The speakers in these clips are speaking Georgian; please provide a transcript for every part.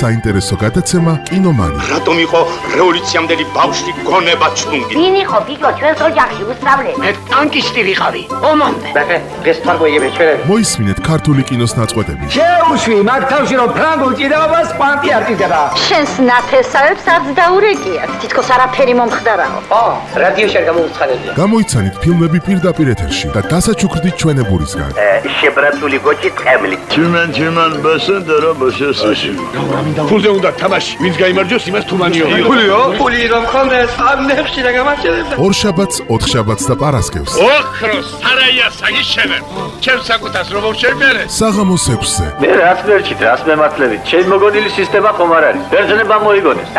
საინტერესო გადაცემა კინომანი. რატომ იყო რევოლუციამდელი ბავშვი გონება ჩუნგი? ვინ იყო ბიჭო ჩვენს ოჯახში უსწავლე? მე ტანკისტი ვიყავი. ომამდე. ბაბე, ეს თარგოიები ჩვენები. მოისმინეთ ქართული კინოს ნაწყვეტები. შეუშვი მაგ თავში რომ ფრანგულ ჭიდაობას კვანტი არტიზება. შენს ნათესავებს არც დაურეკიათ. თითქოს არაფერი მომხდარაო. რადიოში არ გამოუცხადებია. გამოიცანით ფილმები პირდაპირ ეთერში და დასაჩუქრდით ჩვენებურისგან. შებრაცული გოჭი წემლი. Чиман басендера басесაში. ფულზე უნდა თამაში. ვინც გაიმარჯვოს, იმას თუმანიო. ფული რომ ხონდეს ამ ნეხში და გამარჯვებდა. ორშაბათს, ოთხშაბათს და პარასკევს. ოქროს სარაია საგიშენებ. ჩემს საკუთას რომ შევმერე. საღამოს 6-ზე. მე რაც მერჩით, რაც მემართლებით. ჩემ მოგონილი სისტემა ხომ არ არის. ბერძნება მოიგონეს.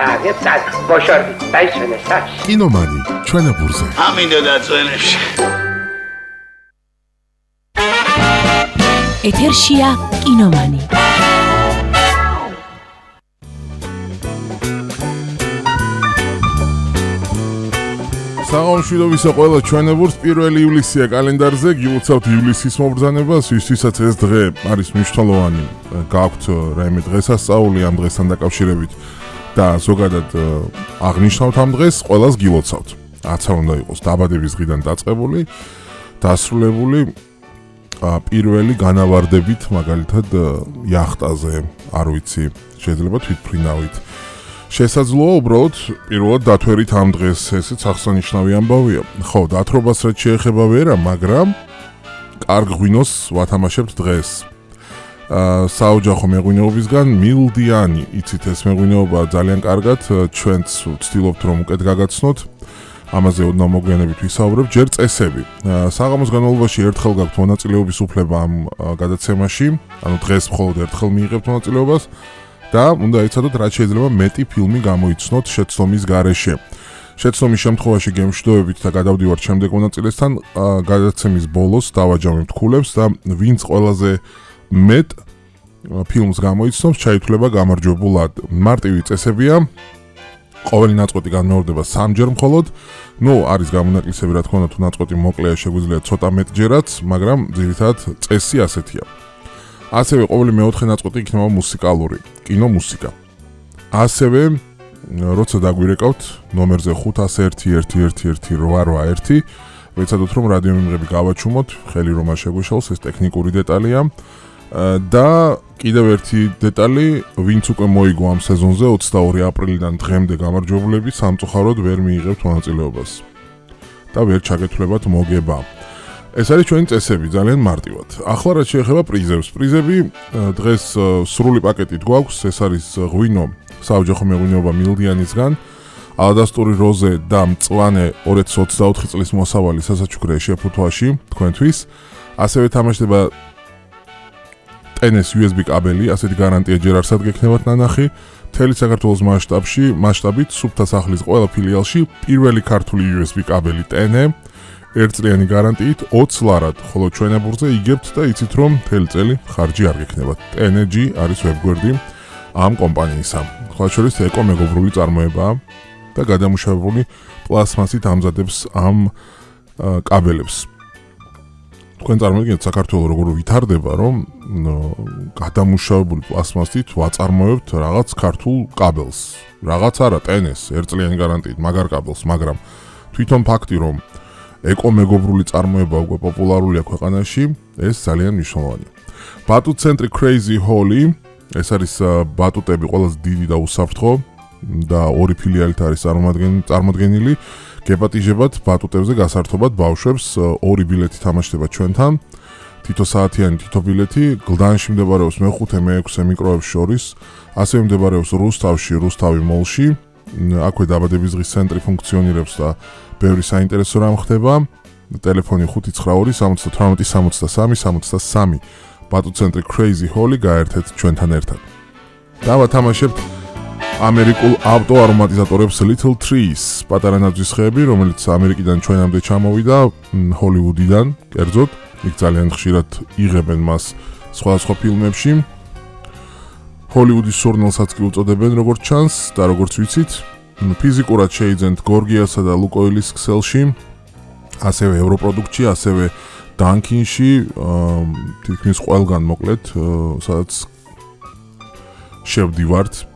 წაგ, ბოშორდი. დაიშვენე საჩი. კინომანი, ჩვენებურზე. ამინდა დაწვენებში. ეთერშია კინომანი. საღამოშვიდობისა ყველა ჩვენებურს 1 ივლისია კალენდარზე, გილოცავთ ივლისის მობრძანებას, ვისაც ეს დღე არის მნიშვნელოვანი, გაქვთ რაიმე დღესასწაული ამ დღესთან დაკავშირებით და ზოგადად აღნიშნავთ ამ დღეს, ყველას გილოცავთ. რაცა უნდა იყოს დაბადების დღიდან დაწყებული, დასრულებული პირველი განავარდებით, მაგალითად იახტაზე, არ ვიცი, შეიძლება თვითმფრინავით. შესაძლოა უბრალოდ პირველად დათვერით ამ დღეს, ესეც აღსანიშნავი ამბავია. ხო, დათრობას რაც შეეხება ვერა, მაგრამ კარგ ღვინოს ვათამაშებთ დღეს. საოჯახო მეღვინეობისგან მილდიანი, იცით ეს მეღვინეობა ძალიან კარგად, ჩვენც ვცდილობთ რომ უკეთ გაგაცნოთ. ამაზე ოდნავ მოგვიანებით ვისაუბრებ, ჯერ წესები. საღამოს განმავლობაში ერთხელ გაქვთ მონაწილეობის უფლება ამ გადაცემაში, ანუ დღეს მხოლოდ ერთხელ მიიღებთ მონაწილეობას და უნდა იცოდოთ, რაც შეიძლება მეტი ფილმი გამოიცნოთ შეცდომის გარეშე. შეცდომის შემთხვევაში გემშვიდობებით და გადავდივართ შემდეგ მონაწილესთან, გადაცემის ბოლოს დავაჯამებთ ქულებს და ვინც ყველაზე მეტ ფილმს გამოიცნობს, ჩაითვლება გამარჯვებულად. მარტივი წესებია. ყოველი ნაწყვეტი განმეორდება 3 ჯერ მხოლოდ. არის გამონაკლისები, რა თქმა უნდა, თუ ნაწყვეტი მოკლეა, შეგვიძლია ცოტა მეტჯერაც, მაგრამ ძირითადად წესი ასეთია. ასევე ყოველი მეოთხე ნაწყვეტი იქნება მუსიკალური, კინომუსიკა. ასევე როცა დაგვირეკავთ ნომერზე 501118881, ვეცადოთ რომ რადიო მიმღები გავაჩუმოთ, ხელი რომ არ შეგვეშალოს, ეს ტექნიკური დეტალია. და კიდევ ერთი დეტალი, ვინც უკვე მოიგო ამ სეზონზე 22 აპრილიდან დღემდე გამარჯვებულები სამწუხაროდ ვერ მიიღებთ მონაწილეობას და ვერ ჩაგეთვლებათ მოგება. ეს არის ჩვენი წესები, ძალიან მარტივად. ახლა რაც შეეხება პრიზებს. პრიზები დღეს სრული პაკეტით გვაქვს, ეს არის ღვინო საოჯახო მეღვინეობა მილდიანისგან, ალადასტური როზე და მწვანე 2024 წლის მოსავალი სასაჩუქრე შეფუთვაში თქვენთვის. ასევე თამაშდება ტენეს USB კაბელი, ასეთი გარანტია ჯერ არსად გექნებათ ნანახი. მთელი საქართველოს მასშტაბით სუფთა სახლის ყველა ფილიალში პირველი ქართული USB კაბელი ტენე, ერთწლიანი გარანტიით 20 ლარად, ხოლო ჩვენებურზე იგებთ და იცით რომ მთელი წელი ხარჯი არ გექნებათ. TNG არის ვებგვერდი ამ კომპანიისა. სხვა შორის ეკომეგობრული წარმოებაა და გადამუშავებული პლასმასით ამზადებს ამ კაბელებს. თქვენ წარმოგიდგენთ საქართველოს როგორ ვითარდება, რომ გადამუშავებული პლასმასით ვაწარმოებთ რაღაც ქართულ კაბელს. რაღაც არა, ტენეს, ერთწლიანი გარანტიით, მაგარ კაბელს, მაგრამ თვითონ ფაქტი, რომ ეკომეგობრული წარმოება უკვე პოპულარულია ქვეყანაში, ეს ძალიან მნიშვნელოვანია. ბატუტ ცენტრი Crazy Holly, ეს არის ბატუტები ყველაზე დიდი და უსაფრთხო და 2 ფილიალით არის წარმოდგენილი. გეპატიჟებათ ბატუტებზე გასართობად ბავშვებს, 2 ბილეთი თამაშდება ჩვენთან. თითო საათიანი თითო ბილეთი, გლდანში მდებარეობს მე-5, მე-6 მიკროებს შორის, ასევე მდებარეობს რუსთავში, რუსთავი მოლში. აქვე დაბადების დღის ცენტრი ფუნქციონირებს და ბევრი საინტერესო რამ ხდება. ტელეფონი 598-73-63. ბატუტ ცენტრი Crazy Holly, გაერთეთ ჩვენთან ერთად. და ვათამაშებთ ამერიკულ ავტო არომატიზატორებს Little Trees, პატარა ნაძვის ხეები, რომელიც ამერიკიდან ჩვენამდე ჩამოვიდა, ჰოლივუდიდან, კერძოდ, იქ ძალიან ხშირად იღებენ მას სხვადასხვა ფილმებში. ჰოლივუდის სურნელსაც კი უწოდებენ, როგორც ჩანს და როგორც ვიცით, ფიზიკურად შეიძენთ გორგიასა და ლუკოილის ქსელში, ასევე ევროპროდუქტში, ასევე დანკინში, თითქმის ყველგან მოკლედ, სადაც შევდივართ